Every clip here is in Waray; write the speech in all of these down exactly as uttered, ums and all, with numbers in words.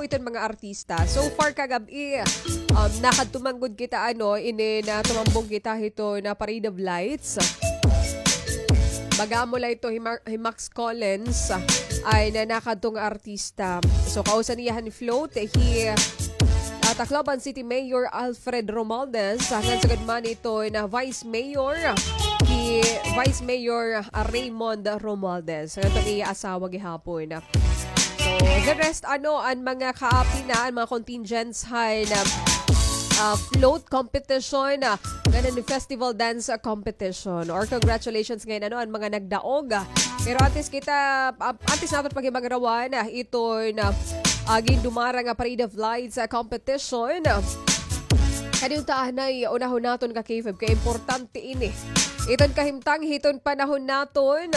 iton mga artista. So far kagab-i, um, nakadto man gud kita, ano, ini na tumambong kita hiton Parade of Lights. Baga amo la ito hi Mar-, hi Max Collins, ah, ay na nakadto nga artista. So kausa niya han float, hi, ah, Tacloban City Mayor Alfred Romualdez, ah, ngan sugad man ito na Vice Mayor, hi Vice Mayor, ah, Raymond Romualdez. Ngan ito iya asawa gihapon. So, the rest, ano, an mga kaapi na, an mga contingents han, ah, ah, float competition, ah, ngan an festival dance, ah, competition. Or congratulations ngay-an, ano, an mga nagdaog. Pero antes kita, ah, antes naton paghibagrawan, ah, iton, ah, ah, gindumara nga Parade of Lights, ah, competition. Kadi unta anay unahon naton ka K five, kay importante ini. Iton kahimtang hiton panahon naton.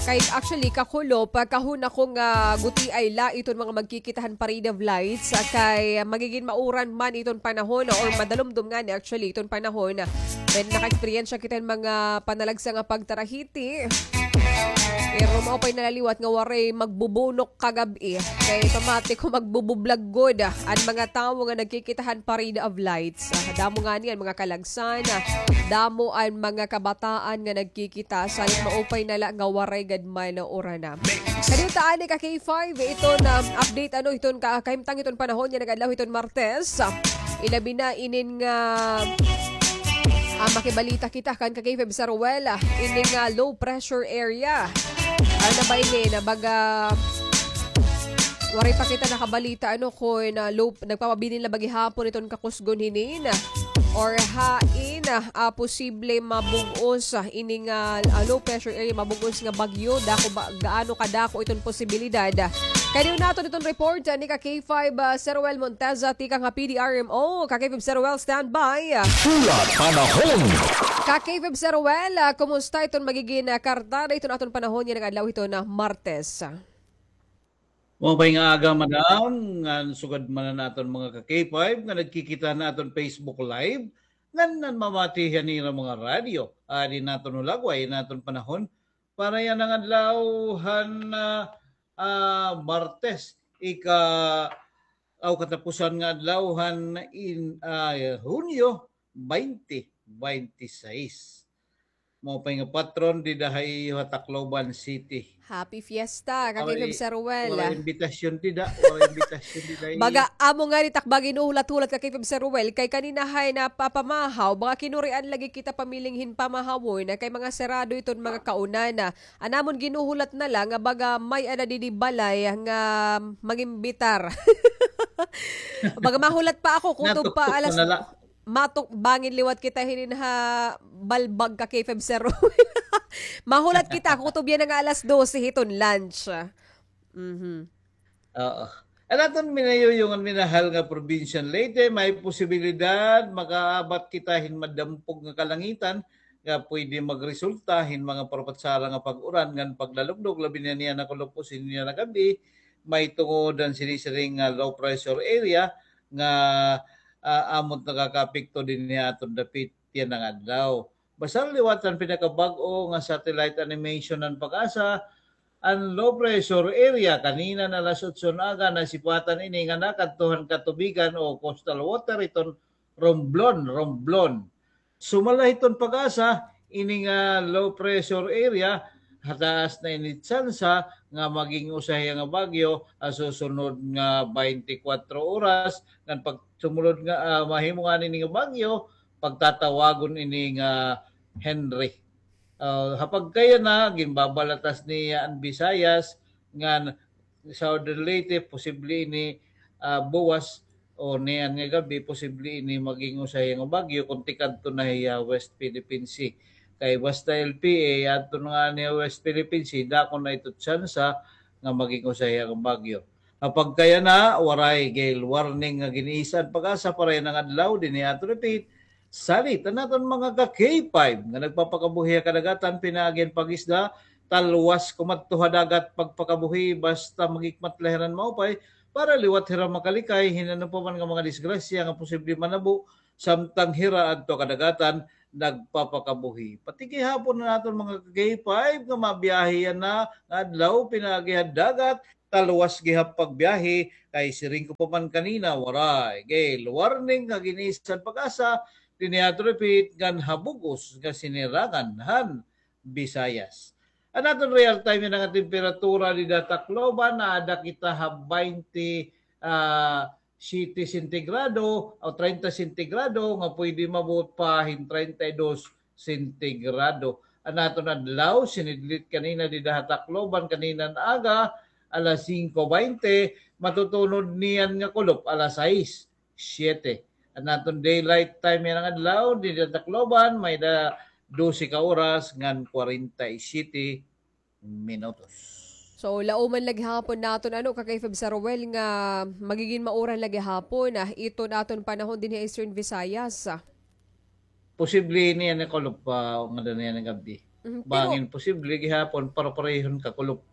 Kay actually, kakulop, kahuna ko nga gutiay la iton mga magkikita han Parade of Lights, ah, kay magigin mauran man iton panahon, or madalumdom ngani actually iton panahon. Then naka-experience kita hin mga panalagsa nga pagtarahiti. Pero maupay na la liwat nga waray magbubunok kagab-i. Kay pamati ko magbubublag gud, ah, an mga tawo nga nagkikita han Parade of Lights. Ah, damo ngani an mga kalagsan, ah, damo an mga kabataan nga nagkikita. Salit maupay na la nga waray gad man urana. Kadi unta anay ka K five, iton update, ano, iton ka, kahimtang iton panahon nga nag-adlaw iton Martes. Ilabi na inin nga, ah, makibalita kita kan ka K five Sir Ruel, ah, inin nga low pressure area. Ano na ba ini? Na baga, waray pa kita nakabalita, ano, kon, ah, low, nagpapabilin la ba gihapon iton kakusgon hinin, or hain, ah, posible mabug-os, ah, ini nga, ah, low pressure area, mabug-os nga bagyo, dako ba, gaano kadako iton posibilidad? Kadi naton iton report, ah, ni ka K five, ah, Sir Ruel Monteza, tikang ha P D R M O. Ka K five Sir Ruel, standby. Hulat panahon. Ka K five Sir Ruel, ah, kumusta iton magigin, ah, kartada iton aton panahon nga nag-adlaw hiton Martes? Maupay nga aga, madam, ngan sugad man an aton mga ka K five nga nagkikita han aton Facebook Live, ngan nanmamati han ira mga radyo. Adi an aton hulagway, an aton panahon para yana nga adlaw han, ah, ah, Martes, ika, aw, katapusan nga adlaw han in, ah, Hunyo twenty twenty-six. Maupay nga patron dida ha iyo ha Tacloban City. Happy Fiesta, ka K five Sir Ruel. Waray imbitasyon dida, waray imbitasyon dida. Baga amo ngani it ak ba ginhuhulat-hulat, ka K five Sir Ruel, kay kanina hay napapamahaw, baga kinurian lagi kita pamiling hin pamahawon, kay mga sarado iton mga kaunan. An amon ginhuhulat na la nga baga may-ada didi balay nga mangimbitar. Baga mahulat pa ako, kutob pa alas, matukbangin liwat kita hinin ha balbag, ka K five Sir Ruel. Mahulat kita, kutob yana nga alas dose hiton lunch. Mhm. Oo. An aton minayuyong ngan minahal nga probinsya han Leyte, may posibilidad makaabat kita hin madampog nga kalangitan nga pwede magresulta hin mga parpatsara nga pag-uran ngan paglalugdog, labi na niyan ha kulop-os niyan ha gab-i, mahitungod han sinisiring nga low pressure area nga, ah, amo it nakakaapekto dinhi ha aton dapit yana nga adlaw. Basta liwat han pinakabag-o nga satellite animation han PAGASA, an low pressure area kanina nga alas otso nga aga, nasipatan ini nga nakadto han katubigan o coastal water iton Romblon, Romblon. Sumala hiton PAGASA, ini nga low pressure area, hataas na ini tsansa nga maging usa hiya nga bagyo ha susunod nga twenty-four oras, ngan pag sumulod nga, ah, mahimo ngani ini nga bagyo, pagtatawagon ini nga Henri. Ah, ha pagkayana, ginbabalatas niya an Visayas, ngan Southern Leyte, posible ini, ah, buwas o niyan nga gab-i, posible ini maging usa hiya nga bagyo kon tikadto na hiya West Philippine Sea. Kay basta L P A, adto na ngani ha West Philippine Sea, dako na ito tsansa nga maging usa hiya nga bagyo. Ha pagkayana, waray gale warning nga gin-iisa an PAGASA para yana nga adlaw dinhi ha aton dapit. Salit an aton mga ka K five nga nagpapakabuhi ha kadagatan, pinaagi han pag-isda, talwas kumadto ha dagat pagpakabuhi, basta maghikmat la hira hin maupay para liwat hira makalikay hin ano pa man nga mga disgrasya nga posible manabo samtang hira adto ha kadagatan nagpapakabuhi. Pati gihapon an aton mga ka K five nga mabiyahe yana nga adlaw pinaagi ha dagat, Taluwas gihap pagbiyahe, kay siring ko pa man kanina, waray. Gale warning nga gin-isa han PAGASA, dinhi ato repeat, ngan habug-os nga sinirangan han Visayas. An aton real time yana nga temperatura dida ha Tacloban, naada kita ha baynte, ah, siyete sentigrado o treinta sentigrado, nga pwede maabot pa hin treinta y dos sentigrado. An aton adlaw, sinidlit kanina dida ha Tacloban, kanina nga aga, alas singko baynte, matutunod niyan nga kulop, alas sais, siyete. An aton daylight time yana nga adlaw, dida ha Tacloban, may-ada dose ka oras ngan kwarenta y siyete minutos. So, lauman la gihapon naton, ano, ka K five Sir Ruel, nga magigin mauran la gihapon, ah, iton aton panahon dinhi ha Eastern Visayas, ah. Posible niyan nga kulop pa, nga daan niyan nga gab-i. Mhm, pero bangin posible gihapon, pare-parehon kakulop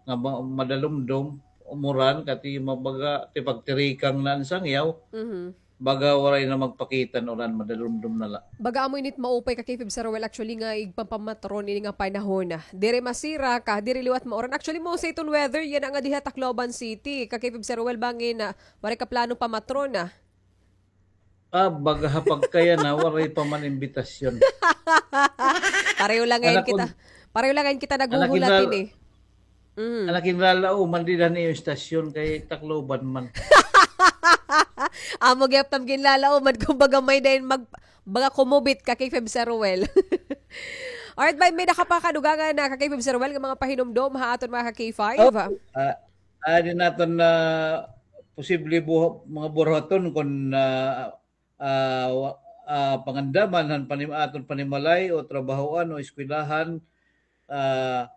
nga ma-, madalumdom, umuran, kati mabaga, ti pagtirikang na an sangyaw. Mhm. Baga waray na magpakita an uran, madalumdom na la. Baga amo ini it maupay ka K five Sir Ruel, actually, nga igpapamatron ini nga panahon. Diri masirak, diri liwat mauran. Actually, mao sa iton weather yana nga dinhi ha Tacloban City. Ka K five Sir Ruel, bangin, ah, waray ka plano pamatron, ah. Ah, baga ha pagkaya na, waray pa man imbitasyon. Pareho la ngay-an kita. Pareho la ngay-an kita naghuhulat ini. Mm. An akin lalauman dida han iyo istasyon kay Tacloban man. Amo gihap it am ginlalauman, kumbaga may-ada hin mag-, baga kumubit ka K five Sir Ruel. Alright, may, may-ada ka pa kadugangan na ka K five Sir Ruel nga mga pahinumdom ha aton mga ka K five? Oh, ah, ah, di naton na posible buha-, mga buruhaton kon, ah, ah, wa-, ah, pangandaman han panim-, aton panimalay o trabahoan o eskwelahan, ah,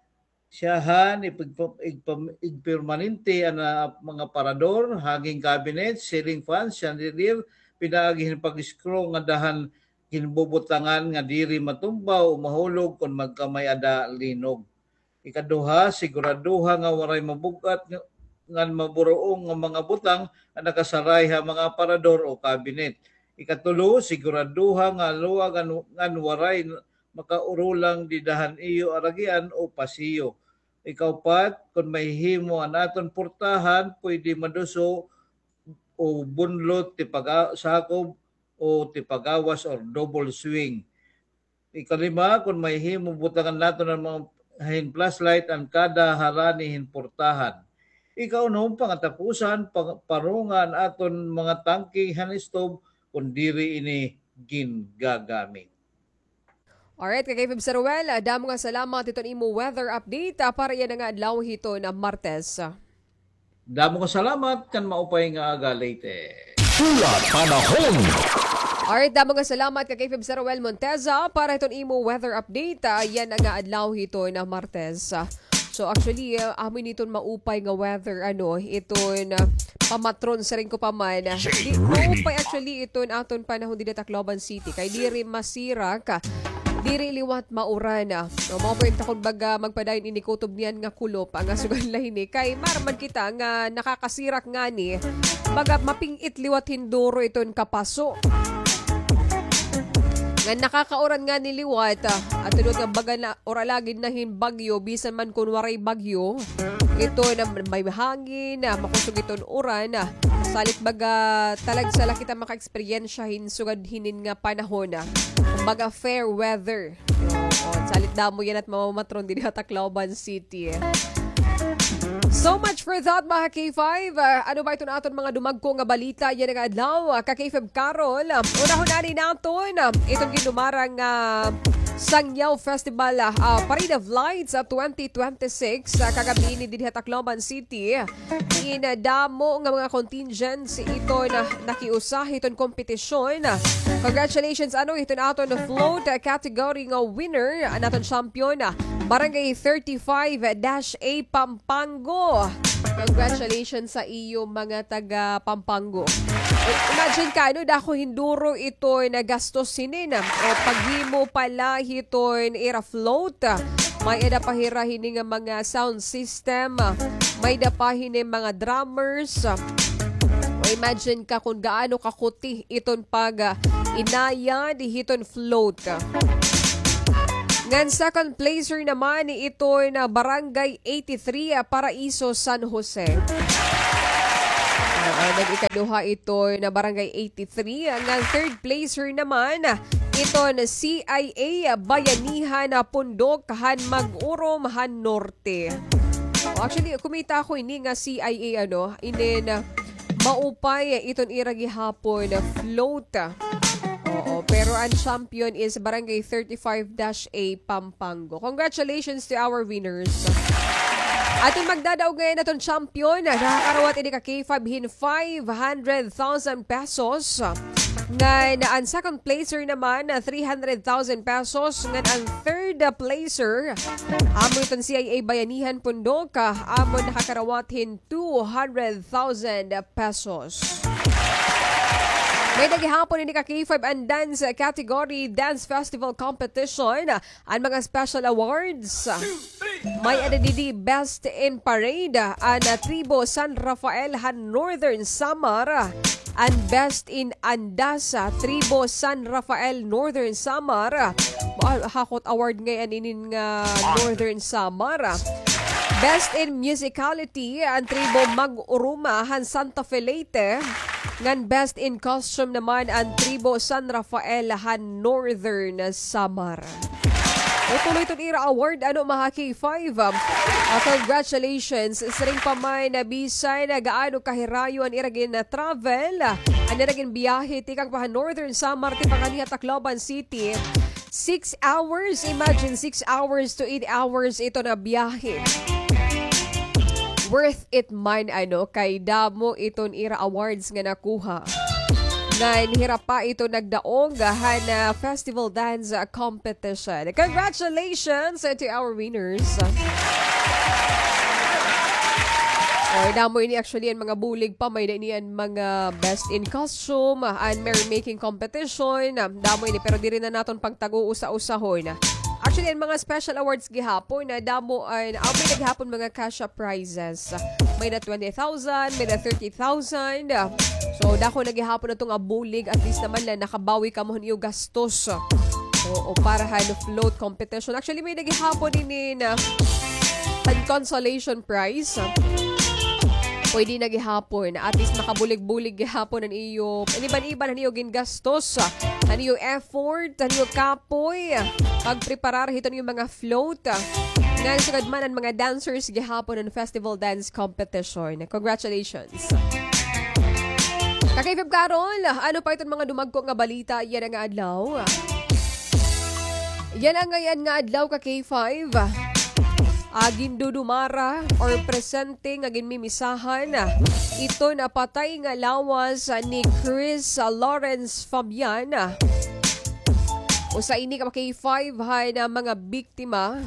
siyahan, ipagpa-, igpam-, igpermanente an, ah, mga parador, hanging cabinet, ceiling fan, chandelier, pinaagi hin pag-screw nga dahan ginbubutangan nga diri matumbaw o mahulog kon magkamay-ada linog. Ikaduha, siguraduha nga waray mabug-at nga, ngan maburuong nga mga butang nga nakasaray ha mga aparador o kabinet. Ikatulo, siguraduha nga luwag ngan, ngan waray makaurulang dida han iyo aragian o pasiyo. Ikaupat, kon mahihimo an aton portahan, pwede maduso o bunlot ti paga-, sakob o ti pagawas or double swing. Ikalima, kon mahihimo, butangan naton an mga hin flashlight an kada harani hin portahan. Ikaunom, pangatapusan, pang-, parunga an aton mga tangke han stove kon diri ini gingagamit. Alright, ka K five Sir Ruel, ah, damo nga salamat hiton imo weather update, ah, para yana nga adlaw hiton Martes. Damo nga salamat, ngan maupay nga aga, Leyte. Hulat Panahon. Alright, damo nga salamat ka K five Sir Ruel Monteza para hiton imo weather update, ah, yana nga adlaw hiton Martes. So, actually, ah, amo ini iton maupay nga weather, ano, iton, ah, pamatron, siring ko pa man. Di, maupay actually iton aton panahon dida Tacloban City. Kay diri masirak, diri liwat mauran. No, mao pa ini, kumbaga, magpadayon ini kutob niyan nga kulop nga sugad la hini. Kay maaram man kita nga nakakasirak ngani, baga maping-it liwat hin duro iton kapaso. Nga nakakauran ngani liwat, ah, ato liwat nga baga na, or alagid na hin bagyo, bisan man kon waray bagyo, ito na may hangin, ah, makusog iton uran, ah, salit baga talagsa la kita maka-eksperyensya hin sugad hinin nga panahon, ah. Kumbaga fair weather. Oo, salit damo yana it mamamatron didi ha Tacloban City. So much for that, mga K five. Ah, ano ba iton aton mga dumagko nga balita yana nga adlaw? Ah, ka K five Carol, ah, unahon anay naton, ah, iton gindumarang, ah, Sangyaw Festival, ah, Parade of Lights, ah, twenty twenty-six, ah, kagab-i ini didi ha Tacloban City. In, ah, damo nga mga contingents iton nakiusa hiton kompetisyon. Congratulations, ano, hiton aton float, ah, category nga winner, an aton champion, ah, Barangay thirty-five dash A Pampanga. Congratulations sa iyo, mga taga Pampanga. I-, imagine ka, ano, dako hin duro iton gastos hinin, ah, o paghimo pa la hiton ira float. May-ada pa hira hini nga mga sound system. May-ada pa hini mga drummers. O imagine ka kon gaano kakuti iton pag, ah, inayad hiton float. Ngan second placer naman iton Barangay eighty-three, ah, Paraiso, San Jose. Oo, nag-ikaduha iton Barangay eighty-three. Ngan third placer naman iton C I A Bayanihan, ah, Pundok han Mag-urom han Norte. Oh, actually, kumita ako ini nga C I A, ano, inin, ah, maupay iton ira gihapon float. Oo, pero an champion is Barangay thirty-five dash A Pampanga. Congratulations to our winners. Aton magdadaog ngayon aton champion, nakakarawat ini ka K five hin five hundred thousand pesos. Ngan an second placer naman, ah, three hundred thousand pesos. Ngan an third, ah, placer, amo iton C I A Bayanihan Pundok, ah, amo nakakarawat hin two hundred thousand pesos. May-ada gihapon ini ka K five an dance category, dance festival competition. An mga special awards, may-ada didi Best in Parade, an, ah, Tribo San Rafael han Northern Samar, an Best in Andas, ah, Tribo San Rafael, Northern Samar. Ah, hakot award ngay-an inin nga Northern Samar. Best in Musicality, an Tribo Mag-uruma han Santa Fe, Leyte. Ngan Best in Costume naman an Tribo San Rafael han Northern Samar. O, tuloy iton ira award, ano, mga K five. Ah, congratulations. Siring pa man, ah, bisan, ah, gaano kahirayo an ira gin-travel, ah, an ira ginbiyahe, tikang pa han Northern Samar, tipa nganhi ha Tacloban City. Six hours, imagine, six hours to eight hours iton nga biyahe. Worth it man, ano, kay damo iton ira awards nga nakuha. Ngan hira pa ito nagdaog han, ah, festival dance, ah, competition. Congratulations, ah, to our winners. Oy, damo ini actually an mga bulig pa, may-ada ini an mga best in costume, ah, an merrymaking competition, ah, damo ini, pero diri na naton pagtag-uusa-usahon. Actually, an mga special awards gihapon, ah, damo an, ah, may-ada gihapon mga cash prizes. May-ada twenty thousand, may-ada thirty thousand. So, dako na gihapon ato nga bulig, at least naman la nakabawi kamo han iyo gastos. Oo, para han float competition. Actually, may-ada gihapon ini na an consolation prize. Pwede na gihapon. At least makabulig-bulig gihapon an iyo, iniban-iban han iyo gingastos, an iyo effort, an iyo kapoy, pagpreparar hiton iyo mga float. Ngan sugad man an mga dancers gihapon han festival dance competition. Congratulations. Ka-K five Carol, ano pa iton mga dumagko nga balita yana nga adlaw? Yana ngay-an nga adlaw, ka-K five. Ah, gindudumara or presente nga ginmimisahan iton patay nga lawas ni Chris Lawrence Fabian. Usa ini, ka-K five, han mga biktima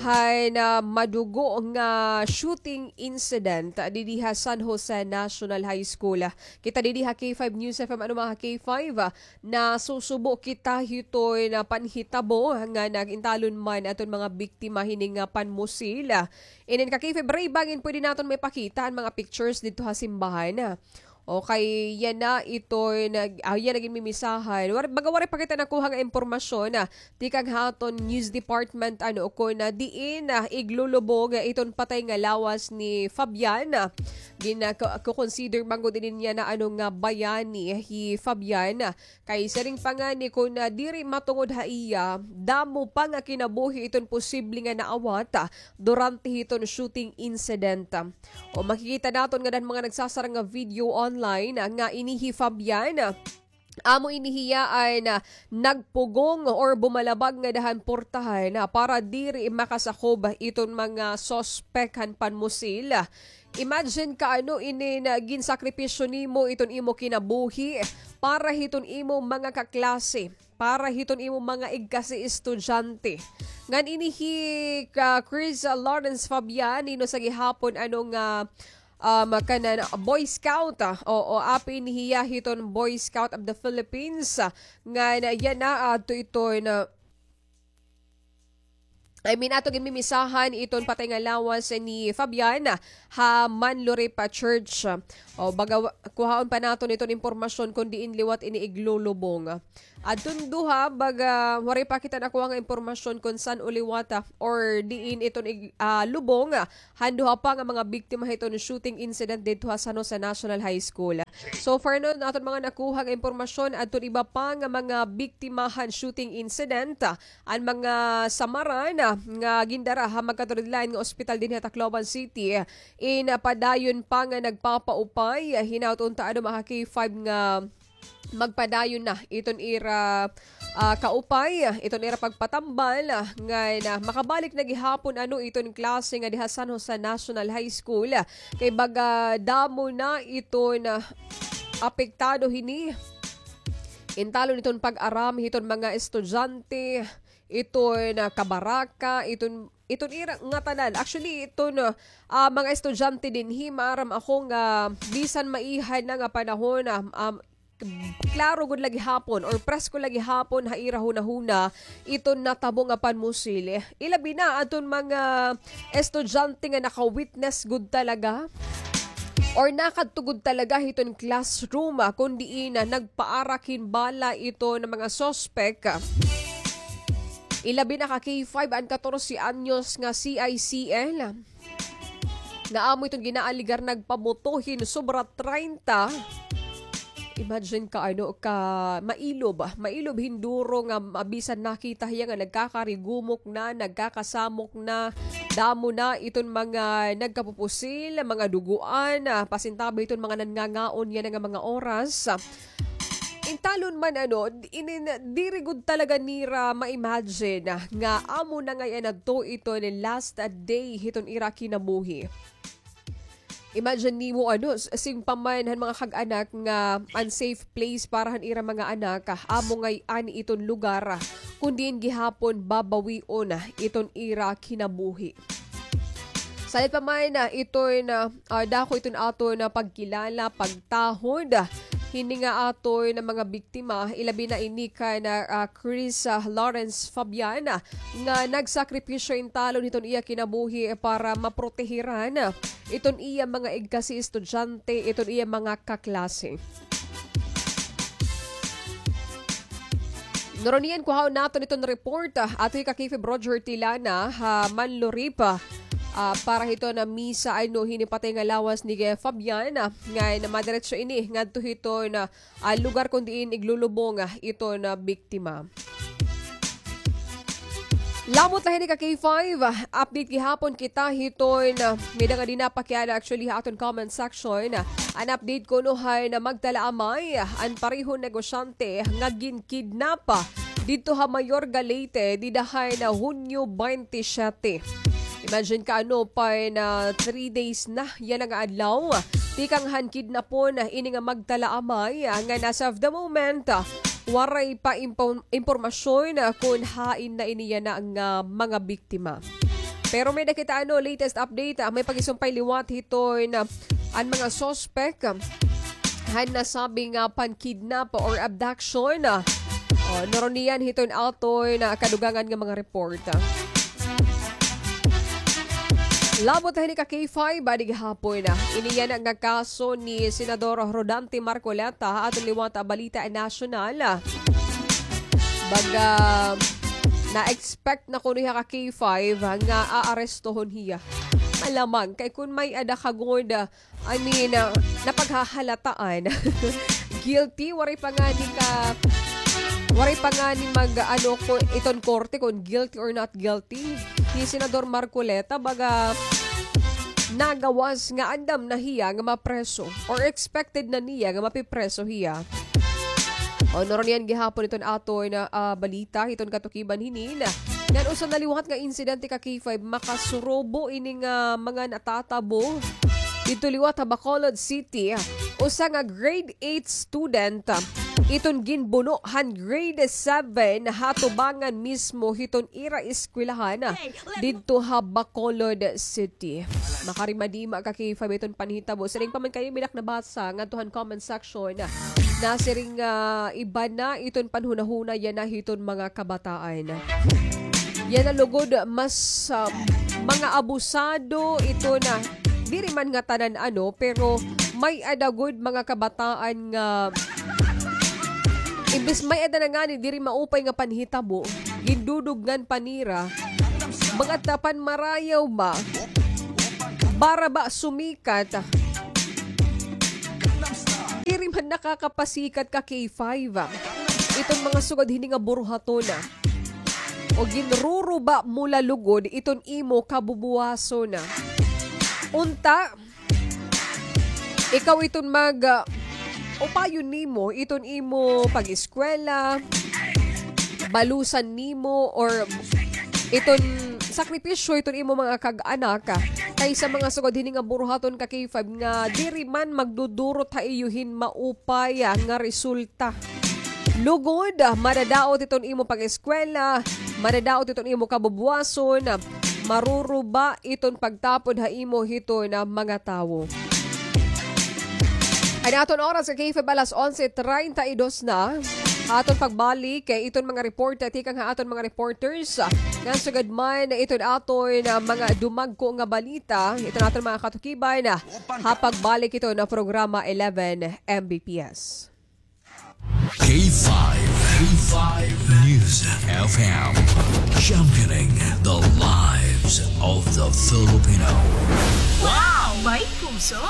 han madugo nga shooting incident didi ha San Jose National High School. Kita didi ha K five News F M, ano, mga K five, nasusubo kita hiton panhitabo nga nag-intalon man aton mga biktima hini nga panmusil. Inin, ka-K five, bangin pwede naton maipakita an mga pictures didto ha simbahan. Okay, yana iton, ah, yana ginmimisahan. War-, baga waray pa kita nakuha nga impormasyon, ah, tikang ha aton news department, ano, kon, ah, diin, ah, iglulubog, ah, iton patay nga lawas ni Fabian. Ah, gina-, ko-, ko-consider man gud ini niya na, ano, nga bayani hi Fabian. Ah, kay siring pa ngani kon, ah, diri matungod ha iya, damo pa nga kinabuhi iton posible nga naawat, ah, durante hiton shooting incident. O, makikita naton ngada han mga nagsasara nga video online, ah, nga ini hi Fabian, ah, amo ini hiya an, ah, nagpugong or bumalabag ngada han portahan, ah, para diri makasakob iton mga suspek han panmusil. Imagine ka, ano, inin ginsakripisyo nimo iton imo kinabuhi para hiton imo mga kaklase, para hiton imo mga igkasi estudyante. Ngan ini hi, ah, Chris, ah, Lawrence Fabian, hinusa gihapon, ano, nga, um, kanan Boy Scout, ah, oo, apin hiya hiton Boy Scout of the Philippines, ah, ngan yana, ah, adto iton, ah, I mean, ato ginmimisahan iton patay nga lawas ni Fabian ha Manluripa Church. O, baga, kuhaon pa naton iton impormasyon kon diin liwat ini iglulubong. Adton duha, baga, waray pa kita nakuha nga impormasyon kon san-o liwat, ah, or diin iton ig-, ah, lubong, ah, han duha pa nga mga biktima hiton shooting incident didto ha San Jose National High School. So far, no, aton mga nakuha nga impormasyon, adton iba pa nga mga biktima han shooting incident, ah, an mga samaran, ah, nga gindara ha magkaturidlayan nga ospital dinhi ha Tacloban City, in, ah, padayon pa nga nagpapaupay, ah, hinaut unta ano, mga K five, nga magpadayon na iton ira, ah, kaupay, iton ira pagpatambal, ah, nga na makabalik na gihapon ano iton klase nga diha San Jose National High School, ah, kay baga damo na iton, ah, apektado hini. Intalon iton pag-aram hiton mga estudyante, iton, ah, kabaraka, iton, iton ira ngatanan. Actually, iton, ah, ah, mga estudyante dinhi, maaram ako nga bisan maiha na nga panahon, ah, um, klaro gud la gihapon or presko la gihapon ha ira hunahuna iton natabo nga panmusil. Ilabi na adton mga estudyante nga naka-witness gud talaga or nakadto gud talaga hiton classroom, ah, kon diin, ah, nagpaarak hin bala iton mga suspek. Ilabi na ka K five an katorse anyos nga C I C L nga amo iton ginaaligar nagpabuto hin sobra treinta. Imagine ka, ano, ka mailob, ah, mailob hin duro nga mabisan nakita hiya nga nagkakarigumok na, nagkakasamok na, damo na iton mga nagkapupusil, mga duguan, ah, pasintabi iton mga nanngangaon yana nga mga oras. Intalon man, ano, d-, inin, diri gud talaga nira ma-imagine, ah, nga amo na ngay-an adto iton last, ah, day hiton ira kinabuhi. Imagine nimo, ano, s-, sing pa man han mga kag-anak nga unsafe place para han ira mga anak, ah, amo ngay-an iton lugar, ah, kon diin gihapon babawion, ah, iton ira kinabuhi. Salit pa man, ah, iton, ah, ah, dako iton aton, ah, pagkilala, pagtahod, ah, hini nga aton, ah, mga biktima, ilabi na ini kan, ah, ah, Chris, ah, Lawrence Fabian, ah, nga nagsakripisyo intalon hiton iya kinabuhi para maprotehiran, ah, iton iya mga igkasi estudyante, iton iya mga kaklase. Nurunian, kuhaon naton iton report, ah, ato hi ka K five Roger Tilana ha Manluripa, ah, para hiton misa, ano, hini patay nga lawas ni Fabian, ah, nga namadiretso ini ngadto hiton, ah, ah, lugar kon diin iglulubong, ah, iton, ah, biktima. Lamot la hini ka K five, ah, update gihapon kita hiton, ah, may-ada nga di napakiana actually ha aton comment section. An update kuno han Magdalaamay, ah, an parehon negosyante nga ginkidnap, ah, didto ha Mayorga, Leyte, dida han, ah, Hunyo twenty-seven. Imagine ka, ano, pa na three days na yana nga adlaw. Tikang han kidnapon, ah, ini nga Magdalaamay, ah, nga as of the moment, ah, waray pa impo-, impormasyon, ah, kon hain na ini yana nga mga biktima. Pero may-ada kita, ano, latest update, ah, may pag-isumpay liwat hiton, ah, an mga suspek, ah, han nasabi nga pankidnap or abduction, ah. O, nurunian hiton aton, ah, kadugangan nga mga report. Lamot la hini ka K five, ah, adi gihapon, ah, ini yana nga kaso ni Senador Rodante Marcoleta ha aton liwat, ah, balita nasyonal, ah. Baga, na-expect na kuno hiya ka K five, ah, nga aarestohon hiya. Malamang, kay kon may-ada ka gud, ah, I mean, ah, napaghahalataan. Guilty, waray pa ngani ka, waray pa ngani mag, ano, ko, iton korte kon guilty or not guilty. Hi Senador Marcoleta, baga, nagawas nga andam na hiya nga mapreso or expected na niya nga mapipreso hiya. O, nurunian gihapon iton aton, ah, balita hiton katukiban hinin. Ngan usa na liwat nga insidente ka K five, makasurobo ini nga mga natatabo didto liwat ha Bacolod City. Usa nga grade eight student, ah, iton ginbuno han grade seven ha tubangan mismo hiton ira eskwelahan, ah, didto ha Bacolod City. Makarimadima ka K five iton panhitabo. Siring pa man kay may-ada ak nabasa ngadto han comment section. Nasiring nga iba na iton panhunahuna yana hiton mga kabataan. Yana lugod, mas, ah, mga abusado ito na, diri man ngatanan ano, pero may-ada gud mga kabataan nga imbes may-ada na ngani diri maupay nga panhitabo, gindudugngan pa nira, mga tapan marayaw ba, para ba sumikat. Diri man nakakapasikat ka K five, ah. Iton mga sugad hini nga buruhaton, ah. O ginruruba mo la lugod iton imo kabubuwason, ah. Unta, ikaw iton mag, ah, upayon nimo iton imo pag-eskwela, balusan nimo, or iton sakripisyo iton imo mga kag-anak, ah, kaysa mga sugad hini nga buruhaton ka K five nga diri man magdudurot ha iyo hin maupay, ah, nga resulta. Lugod, ah, madadaot iton imo pag-eskwela, madadaot iton imo kabubuwason, ah, maruruba iton pagtapod ha imo hiton, ah, mga tawo. An aton oras sa K five alas onse treinta y dos na. Aton pagbalik kay iton mga report, ah, tikang ha aton mga reporters, ah, nga sugad man iton aton, ah, mga dumagko nga balita, iton aton mga katukiban, ah, ha pagbalik iton na programa eleven M B P S. K five, K five News F M, championing the lives of the Filipino. Wow! May puso!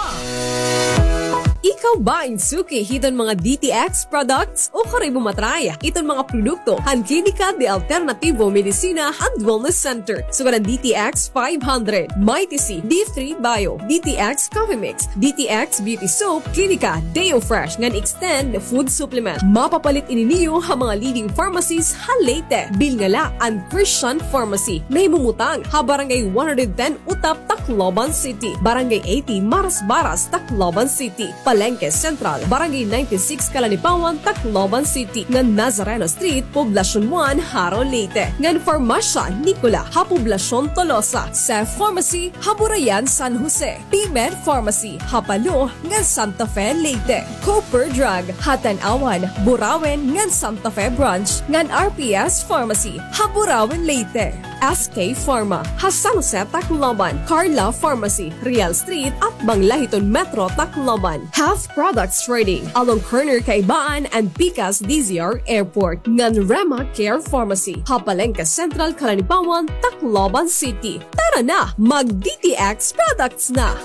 Ikaw ba in suki hiton mga D T X products? O karoy mo matry iton mga produkto han Klinika de Alternativo Medicina and Wellness Center. Sugad an D T X five hundred, Mighty C, D three Bio, D T X Coffee Mix, D T X Beauty Soap, Klinika Deo Fresh ngan Extend Food Supplement. Mapapalit ini niyo ha mga leading pharmacies ha Leyte. Bilnga la an Christian Pharmacy. Nahimumutang ha Barangay one hundred ten Utap, Tacloban City, Barangay eighty Marasbaras, Tacloban City, Palengke Central, Barangay ninety-six Kalanipawan, Tacloban City, ngan Nazareno Street, Poblacion one, Jaro, Leyte, ngan Farmasya Nicola ha Poblacion Tolosa, Cef Pharmacy ha Burayan, San Jose, P-Med Pharmacy ha Palo ngan Santa Fe, Leyte, Cooper Drug ha Tanauan, Burauen ngan Santa Fe Branch, ngan R P S Pharmacy ha Burauen, Leyte. S K Pharma ha San Jose, Tacloban, Carla Pharmacy, Real Street, atbang la hiton Metro Tacloban, Health Products Trading, along corner Kaibaan and pikas D Z R Airport, ngan Rema Care Pharmacy ha Palengke Central, Kalanipawan, Tacloban City. Tara na, mag D T X products na!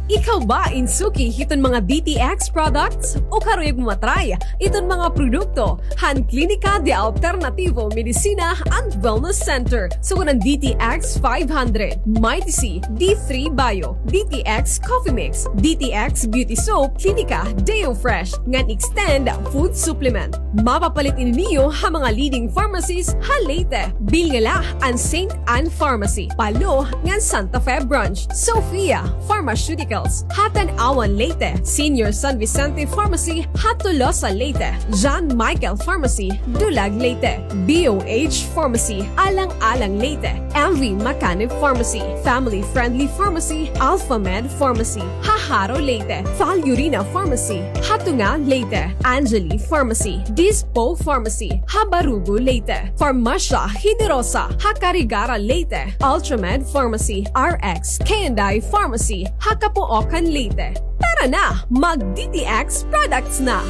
Ikaw ba in suki hiton mga D T X products? O karoy mo matry iton mga produkto han Klinika de Alternativo Medicina and Wellness Center. Sugad an D T X five hundred, Mighty C, D three Bio, D T X Coffee Mix, D T X Beauty Soap, Klinika Deo Fresh, ngan Extend Food Supplement. Mapapalit ini niyo ha mga leading pharmacies ha Leyte. Bilnga la an Saint Ann Pharmacy, Palo, ngan Santa Fe Branch, Sofia Pharmaceuticals ha Tanauan, Leyte, Senior San Vicente Pharmacy ha Tolosa, Leyte, John Michael Pharmacy, Dulag, Leyte, B O H Pharmacy, Alang-alang, Leyte, M V Macanib Pharmacy, Family Friendly Pharmacy, Alpha Med Pharmacy ha Jaro, Leyte, Val Urina Pharmacy ha Tunga, Leyte, Angeli Pharmacy, Dispo Pharmacy ha Barugo, Leyte, Farmasya Generosa ha Carigara, Leyte, Ultramed Pharmacy, R X K and I Pharmacy ha Capoocan, Leyte. Tara na, mag D T X products na!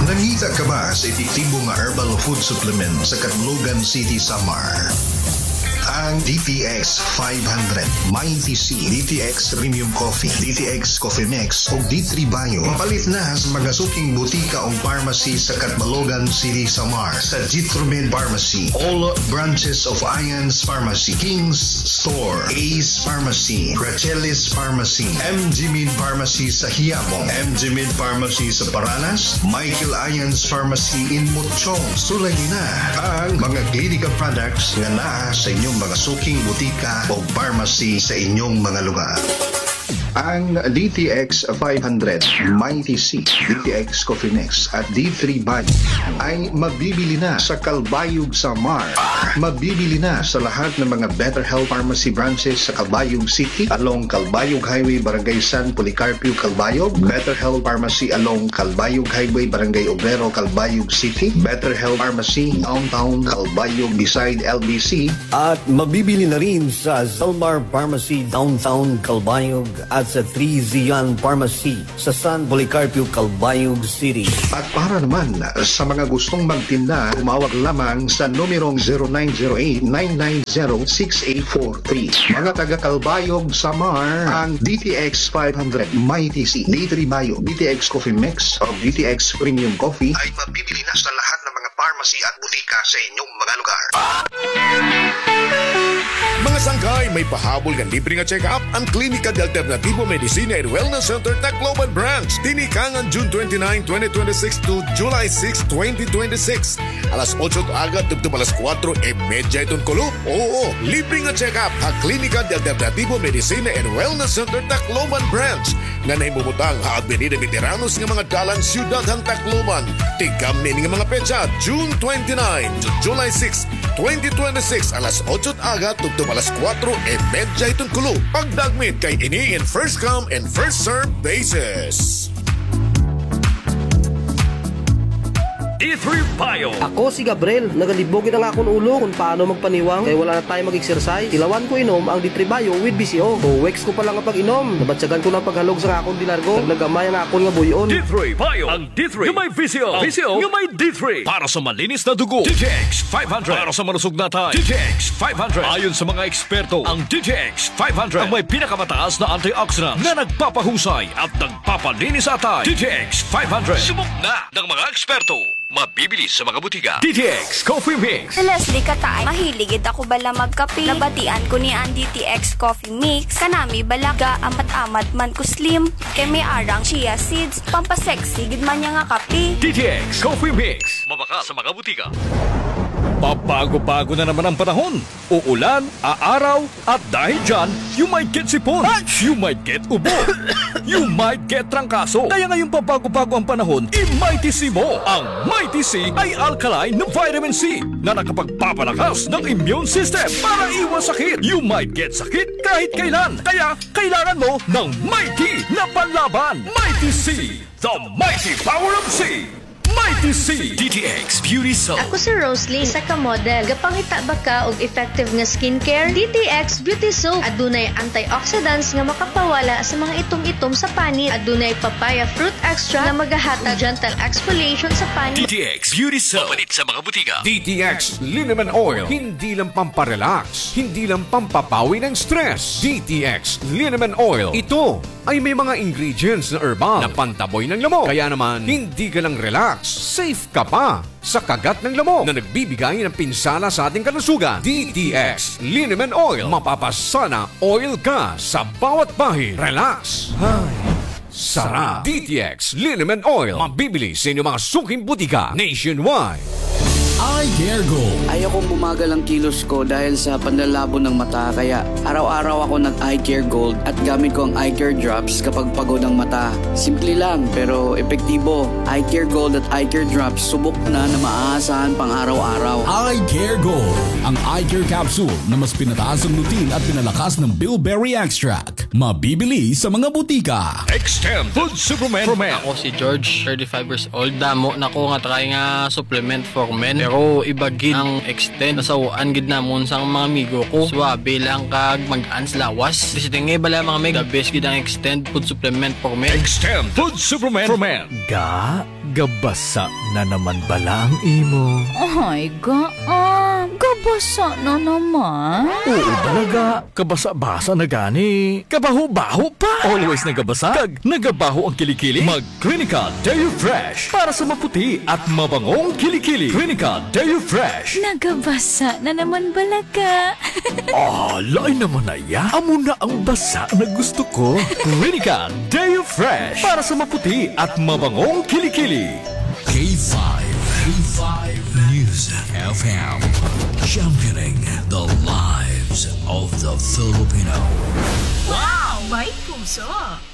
Nangita ka ba sa epektibo nga herbal food supplement sa Catbalogan City, Samar? Ang D T X five hundred, Mighty C, D T X Premium Coffee, D T X Coffee Mix, ug D three Bio. Mapalit na sa mga suking butika ug pharmacy sa Catbalogan City, Samar, sa Jitromed Pharmacy, all branches of Ian's Pharmacy, King's Store, Ace Pharmacy, Rachelis Pharmacy, M G Min Pharmacy sa Hiabong, M G Min Pharmacy sa Paranas, Michael Ian's Pharmacy in Mutchong. Sulayi na ang mga Klinika products nga naa sa inyong mga suking butika o pharmacy sa inyong mga lugar. Ang D T X five hundred, Mighty C, D T X Coffee Mix at D three Bio ay mabibili na sa Calbayog, Samar. Mabibili na sa lahat ng mga Better Health Pharmacy branches sa Calbayog City, along Calbayog Highway, Barangay San Policarpio, Calbayog, Better Health Pharmacy along Calbayog Highway, Barangay Obrero, Calbayog City, Better Health Pharmacy Downtown Calbayog beside L B C, at mabibili na rin sa Zalmar Pharmacy Downtown Calbayog at sa Three Zion Pharmacy sa San Policarpio, Calbayog City. At para naman sa mga gustong magtinda, tumawag lamang sa numerong zero nine zero eight, nine nine zero, six eight four three. Mga taga Calbayog, Samar, ang D T X five hundred, Mighty C, D three Bio, D T X Coffee Mix, o D T X Premium Coffee ay mabibili na sa lahat ng mga pharmacy at butika sa inyong mga lugar. Mga sangkay, may pahabol nga libre nga check-up an Klinika de Alternativo Medicina and Wellness Center, Tacloban Branch. Tinikangan June twenty-nine, twenty twenty-six to July six, twenty twenty-six. Alas otso it aga tubtob alas kuwatro e medya iton kulop. Oo, libre nga check-up ha Klinika de Alternativo Medicina and Wellness Center, Tacloban Branch, nga nahimumutang ha Avenida Veteranos nga mga dalan, Siyudad han Tacloban. Tigkamni ini nga mga petsa, June twenty-nine to July six, twenty twenty-six, alas otso it aga tubtob alas kuwatro e medya iton kulop. Pagdagmit kay ini in first come and first serve basis. D three Bio. Ako si Gabriel. Nagalibog gid an akon ulo kon paano magpaniwang kay wala na time mag-exercise. Tilawan ko inom ang D three Bio with V C O. Two weeks ko pa lang nga pag-inom, nabatyagan ko na an paghalog sa akon dilargo. Naglagamay an akon nga buy-on. D three Bio. Ang D three nga may V C O. V C O nga may D three. Para sa malinis na dugo, D T X five hundred. Para sa malusog na atay, D T X five hundred. Ayon sa mga eksperto, ang D T X five hundred ang may pinakamataas na antioxidants na nagpapahusay at nagpapalinis sa atay. D T X five hundred. Subok na ng mga eksperto. Mabibili sa mga butika. D T X Coffee Mix. Si Leslie Kataay, mahilig gid ako bala magkape. Nabatian ko niya an D T X Coffee Mix. Kanami bala ga-amat-amat man ko slim. Kay may ara nga chia seeds. Pampasexy gid man niya nga kape. D T X Coffee Mix. Mabakal sa mga butika. Pabago-bago na naman ang panahon. Uulan, aaraw, at dahil dyan, you might get sipon, you might get ubo, you might get trangkaso. Kaya ngayong pabago-bago ang panahon, i-Mighty C mo. Ang Mighty C ay alkaline na vitamin C na nakapagpapalakas ng immune system para iwas sakit. You might get sakit kahit kailan. Kaya kailangan mo ng Mighty na panlaban. Mighty C, the mighty power of C. Mighty C. D T X Beauty Soap. Ako si Roslyn, isa ka model. Gapangita ba ka og effective nga skincare? D T X Beauty Soap. Adunay antioxidants nga makapawala sa mga itom-itom sa panit. Adunay papaya fruit extract nga magahatag gentle exfoliation sa panit. D T X Beauty Soap. Mapalit sa mga butika. D T X Liniment Oil. Hindi lang pamparelax, hindi lang pampapawi ng stress. D T X Liniment Oil. Ito ay may mga ingredients na herbal na pantaboy ng lamok. Kaya naman, hindi ka lang relax, safe ka pa sa kagat ng lamok na nagbibigay ng pinsala sa ating kalusugan. D T X Liniment Oil. Mapapasana oil ka sa bawat bahid. Relax. Ay, sarap. D T X Liniment Oil. Mabibili sa inyong mga suking butika nationwide. Eye Care Gold. Ayokong bumagal ang kilos ko dahil sa panlalabo ng mata, kaya araw-araw ako nag-Eye Care Gold at gamit ko ang Eye Care Drops kapag pagod ang mata. Simple lang, pero epektibo. Eye Care Gold at Eye Care Drops, subok na na maaasahan pang araw-araw. Eye Care Gold, ang eye care capsule na mas pinataas ang lutein at pinalakas ng bilberry extract. Mabibili sa mga butika. Extend Food Supplement for Men. Ako si George, thirty-five years old. Damo na ko nga try nga supplement for men. Pero iba gid ang Extend. Nasaw-an gid namon sa mga amigo ko. Suwabe lang kag magaan sa lawas. Basta nga bala mga mig, the best gid ang Extend Food Supplement for Men. Extend Food Supplement for Men. Ga, gabasa na naman bala ang imo? Ay, ga, ah, gabasa na naman? Oo, bala ga. Kabasa-basa na gani. Kabaho-baho pa. Always nagabasa. Kag nagabaho ang kilikili. Mag Clinical Deo Fresh para sa maputi at mabangong kilikili. Clinical Deo Fresh. Nagabasa na naman bala ka. Ah, lain naman na iya. Amo na ang basa na gusto ko. Clinical Deo Fresh para sa maputi at mabangong kilikili. K five, K five News F M, championing the lives of the Filipino. Wow! May puso.